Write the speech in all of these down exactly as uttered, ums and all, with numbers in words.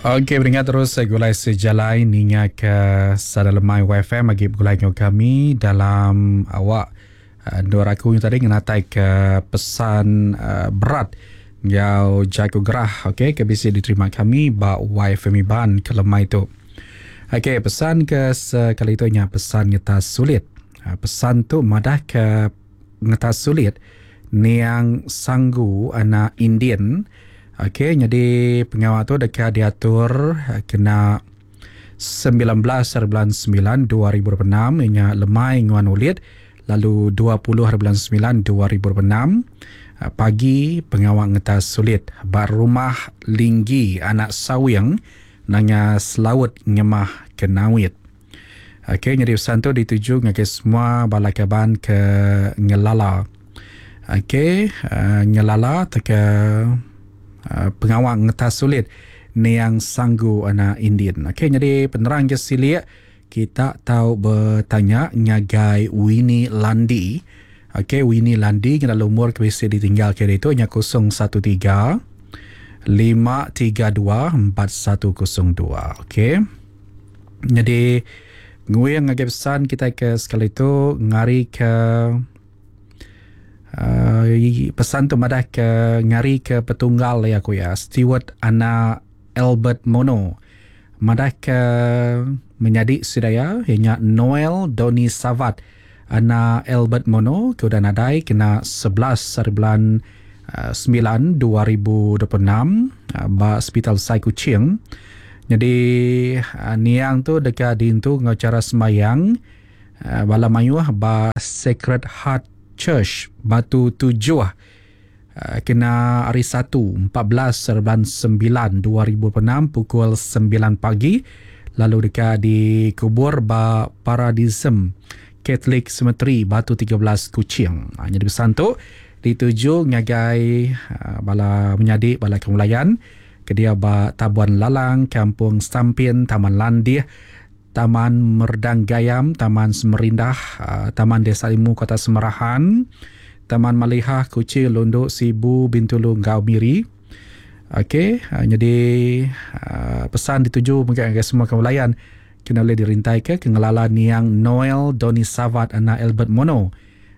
Okey, beringat terus gulai sejalai ninga ke Sada Lemai Y F M agi begulai dengan kami dalam awak dua aku yang tadi ngenatai ke pesan uh, berat ngau jago gerah, okey, ke bisi diterima kami ba Y F M Iban ke lemai tu. Okey, pesan ke sekali tu nya pesan ngetas sulit. Pesan tu madah ke ngetas sulit niang sanggu anak Indian. Okey, jadi pengawal tu dekat diatur kena sembilan belas bulan sembilan dua ribu dua puluh enam ianya lemai nguan ulit, lalu dua puluh bulan sembilan dua ribu dua puluh enam pagi pengawal ngetas sulit ba rumah Linggi anak Sawing nanga Selaut Ngemah Kenawit. Okey, jadi pesan tu dituju ngagai semua bala kaban ke ngelala. Okey, uh, ngelala teka uh, pengawal ngetas sulit niang sanggu anak Indian. Okey, jadi penerang je silik kita tahu bertanya ngagai Winnie Landi. Okey, Winnie Landi kena lumur ke bisi ditinggal ke itu nya kosong satu tiga lima tiga dua empat satu kosong dua. Okey. Jadi nguyang ngagai pesan kita ke sekali tu ngari ke uh, pesan tu madah ke ngari ke petunggal ya aku ya Stewart anak Albert Mono. Madah ke menyadi sidaya ianya Noel Doni Savat anak Albert Mono ke udah nadai kena sebelas hari bulan sembilan dua ribu dua puluh enam ba Hospital Sai Kuching. Jadi niang tu dekat dintu ngau cara semayang bala mayuh ba Sacred Heart Church Batu Tujuh kena hari satu empat belas bulan sembilan dua ribu dua puluh enam pukul sembilan pagi, lalu dekat dikubur ba Paradisum Catholic Cemetery Batu tiga belas Kuching. Ha, jadi pesan tu dituju ngagai uh, bala menyadi bala kemulayan ke dia ba Tabuan Lalang, Kampung Stampin, Taman Landih, Taman Merdang Gayam, Taman Semerindah, uh, Taman Desa Limu Kota Semerahan, Taman Malihah, Kuching, Lunduk, Sibu, Bintulu, Ngau Miri. Okey, uh, jadi uh, pesan dituju mungkin ngagai semua kemulayan kena boleh dirintai ke kengelala niang Noel Doni Savat anak Albert Mono.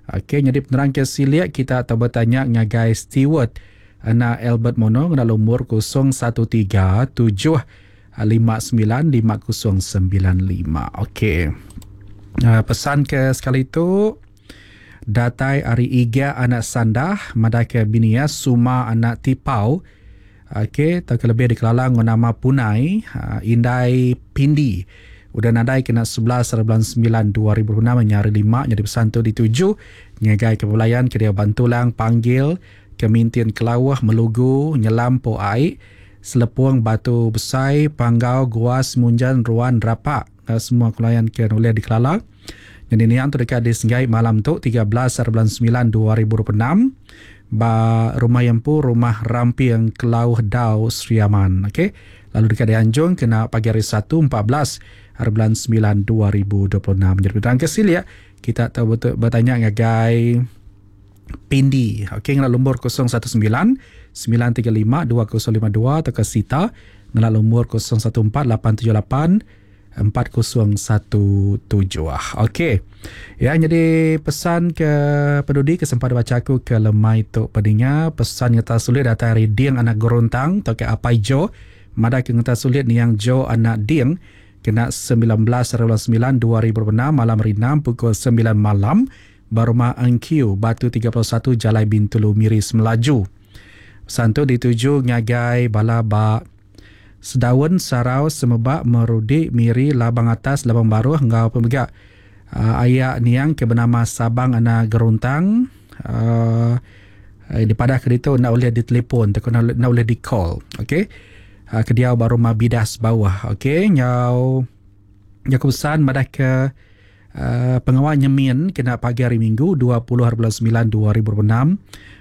Okey, jadi penerang ke siliak kita atau bertanya ngagai Stewart anak Albert Mono kena lumur kosong satu tiga tujuh lima sembilan lima kosong sembilan lima. Okey. Uh, pesan ke sekali tu datai ari Iga anak Sandah madai ke binia Suma anak Tipau. Okey, tak lebih dikelalang nama Punai, uh, Indai Pindi. Udah nadai kena sebelas bulan sembilan dua ribu enam nyari lima jadi pesan tu dituju ngagai kepulayan ke dia Bantulang Panggil Kemintian Kelawah Melugu Nyelam Po Ai Selepung Batu Besai Panggau Gua Semunjan Ruan Rapak semua kelayan ke oleh dikelala. Jadi niang tu dekat di Senggai malam tu tiga belas bulan sembilan dua ribu dua puluh enam ba rumah Yempu rumah Rampiang Kelauh Dau Sriaman. Okey, lalu dekat di Anjung kena pagi hari satu empat belas hari bulan sembilan dua ribu dua puluh enam. Jadi petang ke silia kita tahu betul bertanya ngagai Pindi. Okey, ngena lumur kosong satu sembilan sembilan tiga lima dua kosong lima dua atau ke Sita ngena lumur kosong satu empat lapan tujuh lapan empat kosong satu tujuh. Okey. Ya, jadi pesan ke peduli kesempat baca aku ke lemai tu pendengar pesan ngetas sulit datang dari Ding anak Gorontang atau ke Apai Jo. Madah ke ngetas sulit niang Jo anak Ding kena sembilan belas bulan sembilan dua ribu dua puluh enam malam hari enam pukul sembilan malam Barumah Engkiu Batu tiga puluh satu Jalai Bintulu Miris Melaju. Pesan tu dituju ngagai bala ba Sedaun Sarau Semebak Merudi Miri Labang Atas Labang Baruh ngau pemegak uh, ayak niang ke bernama Sabang anak Geruntang uh, di padah ke itu nak boleh ditelefon atau nak, nak boleh di call. Okey. Uh, ke dia baru rumah bidas bawah. Okey, nyau nyau pesan madah ke uh, pengawal nyemin kena pagi hari Minggu dua puluh bulan sembilan dua ribu dua puluh enam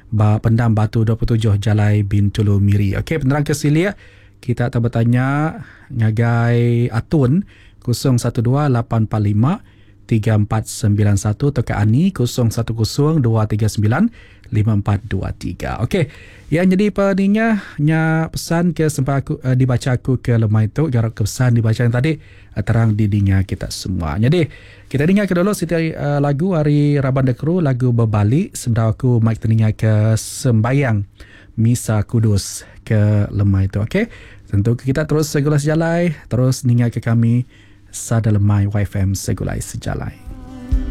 ba Pendam Batu dua puluh tujuh Jalai Bintulu Miri. Okey, penerang ke silia kita tak bertanya ngagai Atun kosong satu dua lapan empat lima tiga empat sembilan satu atau ke Ani kosong satu kosong dua tiga sembilan lima empat dua tiga. Okey, yang jadi peninga nya pesan ke sempat aku, uh, dibaca aku ke lemai tu, jarak ke pesan dibaca yang tadi, uh, terang didinga kita semua. Jadi kita dengar ke dulu siti, uh, lagu hari Raban The Crew, lagu Berbalik sebelum aku mic teninga ke sembayang Misa Kudus ke lemai tu. Okey, tentu kita terus segulai sejalai, terus ninga ke kami Sada Lemai Y F M Segulai Sejalai.